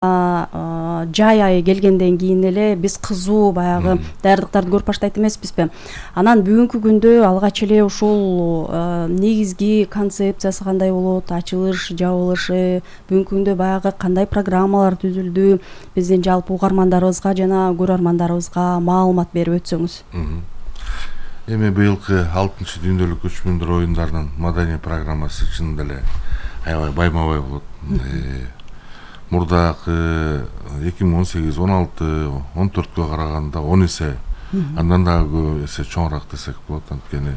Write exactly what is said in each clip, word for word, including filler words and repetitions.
жай айы келгенден кийин эле биз кызуу баягы даярдыктарды көрүп баштайт эмеспизби? Анан бүгүнкү күндө алгач эле ушул негизги концепциясы кандай болот, ачылыш, жабылышы, бүгүнкү күндө баягы кандай программалар түзүлдү, биздин жалпы угармандарыбызга жана көрөрмандарыбызга маалымат берип өтсөңүз. Эми быйылкы алтынчы дүйнөлүк көчмөндөр оюндарынын маданий программасы чынында эле аябай байма-бай болот. Мурдакы эки миң он сегиз он алты он төрткө караганда он эсе андан дагы көп эсе чоңураак десек болот. Анткени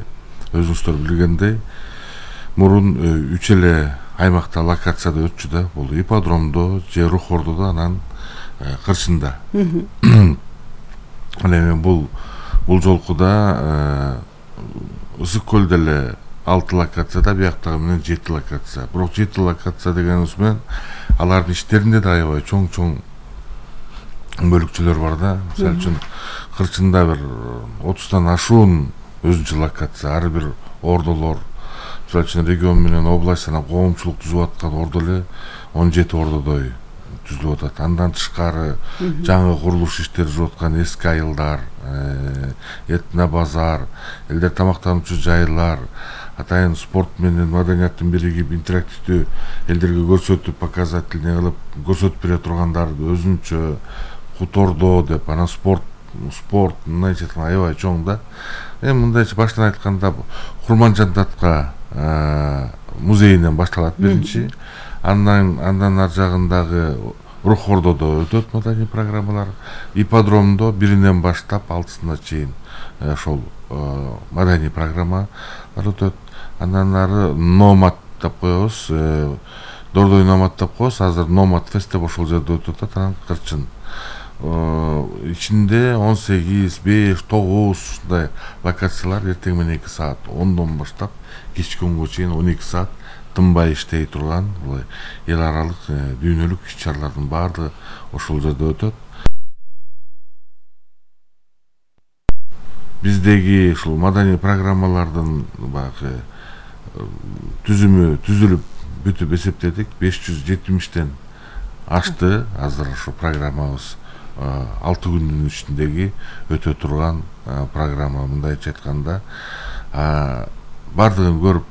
өзүңүздөр билгендей, мурун үч эле аймакта локацияда өтчү да, бул ипподромдо, же Рухордодо, анан Кырчында. Ал эми бул бул жолку да Ысык көлдө эле алты локацияда, бияктагы менен жети локация. Бирок жети локация дегенибиз менен алардын иштеринде да аябай чоң-чоң бөлүкчөлөр бар да. Мисалы үчүн Кырчында бир отуздан ашуун өзүнчө локация, ар бир ордолор, мисалы үчүн регион менен область жана коомчулук түзүп аткан ордо эле он жети ордодой түзүлүп атат. Андан тышкары жаңы курулуш иштери жүрүп аткан эски айылдар, этно базар, элдер тамактануучу жайлар, атайын спорт менен маданияттын биригип интерактивдүү элдерге көрсөтүп, показательный кылып көрсөтүп бере тургандар өзүнчө хутордо деп, анан спорт спорт мындайча айтканда аябай чоң да. Эми мындайча баштан айтканда Курманжан датка музейинен башталат биринчи. Андан андан ар жагындагы Рухордодо өтөт маданий программалар, ипподромдо биринен баштап алтысына чейин ошол маданий программалар өтөт. Андан ары Номад деп коебуз, Дордой Номад деп коебуз. Азыр Номад фест деп ошол жерде өтүп атат. Анан Кырчын ичинде он сегиз, беш, тогуз ушундай локациялар эртең менен эки саат, ондон баштап кечки онго чейин он эки саат тынбай иштей турган эл аралык дүйнөлүк иш-чаралардын баардыгы ошол жерде өтөт. Биздеги ушул маданий программалардын баягы түзүмү түзүлүп бүтүп эсептедик, беш жүз жетимиштен ашты азыр ошо программабыз. алты күндүн ичиндеги өтө турган программа. Мындайча айтканда бардыгын көрүп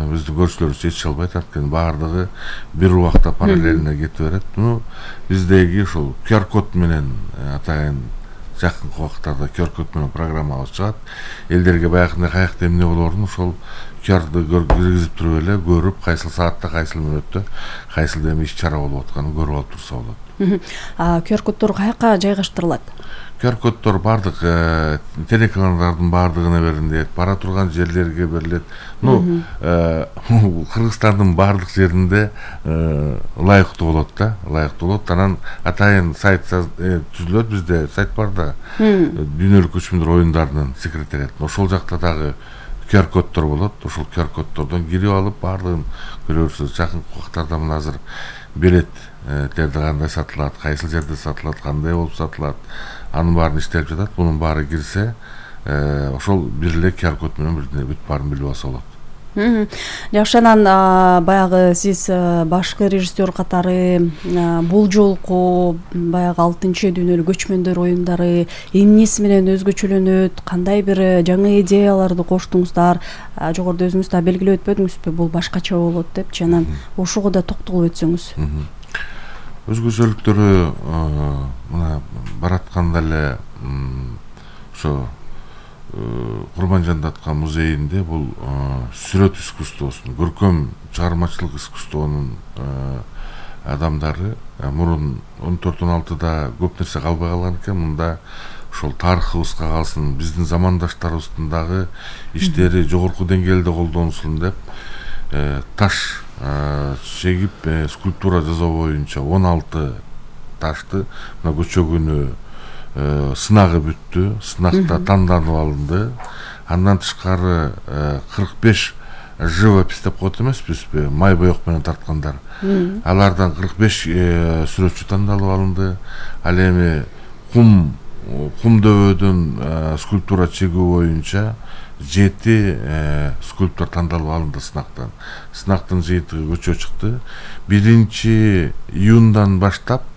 биздин көрүүчүлөрүбүз жетише албайт, анткени баардыгы бир убакта параллельно кетип берет. Ну биздеги ушул ку ар код менен атайын жакынкы убактарда ку ар код менен программабыз чыгат. Элдерге баягындай каякта эмне болоорун ошол ку арды киргизип туруп эле көрүп, кайсыл саатта кайсыл мүнөттө кайсыл эми иш-чара болуп атканын көрүп алып турса болот. ку ар коддор каяка жайгаштырылат? ку ар коддор бардык телеканалдардын баардыгына берилет, бара турган жерлерге берилет. Ну, Кыргызстандын баардык жеринде ылайыктуу болот да, ылайыктуу болот. Анан атайын сайт түзүлөт, бизде сайт бар да, дүйнөлүк көчмөндөр оюндарынын секретарият. Ошол жакта дагы ку ар коддор болот. Ошол ку ар коддордон кирип алып баардыгын көрөсүз. Жакынкы убактарда мына азыр билеттерди кандай сатылат, кайсыл жерде сатылат, кандай болуп сатылат, анын баарын иштелип жатат. Бунун баары кирсе, ошол бир эле ку ар код менен бүт баарын билип алса болот. Жакшы, анан баягы сиз башкы режиссер катары бул жолку баягы алтынчы дүйнөлүк көчмөндөр оюндары эмнеси менен өзгөчөлөнөт, кандай бир жаңы идеяларды коштуңуздар, жогоруда өзүңүз да белгилеп өтпөдүңүзбү, бул башкача болот депчи, анан ошого да токтолуп өтсөңүз. Өзгөчөлүктөрү мына баратканда эле ошо Курманжан датка музейинде бул сүрөт искусствосунун, көркөм чыгармачылык искусствонун адамдары мурун он төрт он алтыда көп нерсе калбай калган экен. Мында ошол тарыхыбызга калсын, биздин замандаштарыбыздын дагы иштери жогорку деңгээлде колдонулсун деп таш чегип скульптура жасоо боюнча он алты ташты мына көчө күнү сынагы бүттү, сынакта танданып алынды. Андан тышкары кырк беш живопись деп коет эмеспизби, май боек менен тарткандар. Алардан кырк беш сүрөтчү тандалып алынды. Ал эми кум Кумдөбөдөн скульптура чегүү боюнча жети скульптор тандалып алынды сынактан. Сынактын жыйынтыгы көчө чыкты. Биринчи июндан баштап